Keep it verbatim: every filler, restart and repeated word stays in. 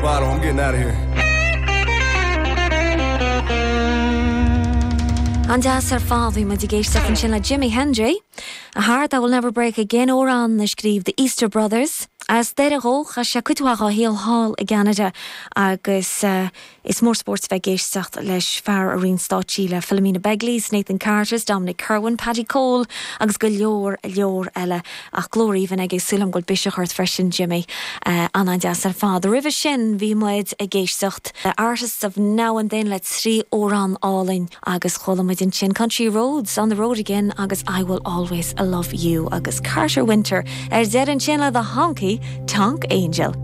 Bottle, I'm getting out of here. An-deas ar fad bhí muid ag éisteacht ansin le Jimi Hendry, A Heart That Will Never Break Again amhrán a scríobh The Easter Brothers. As Doire dhó, chaith sé cuid mhaith dá shaol thall i gCeanada agus is mór spórt bheith ag éisteacht leis, fear a roinn stáitsí le Philomena Begley's, Nathan Carter's, Dominic Kirwan, Paddy Cole agus go leor leor eile. Ach glór aoibhinn aige, súil agam go bhfuil biseach ort freisin Jimmy. An-an-deas ar fad. Roimhe sin bhí muid ag éisteacht le Artists of Now and Then le trí amhrán álainn agus chuala muid ansin Country Roads, On the Road Again agus I Will Always Love You agus Carter Winter ar deireadh ansin le The Honky Tonk Angel.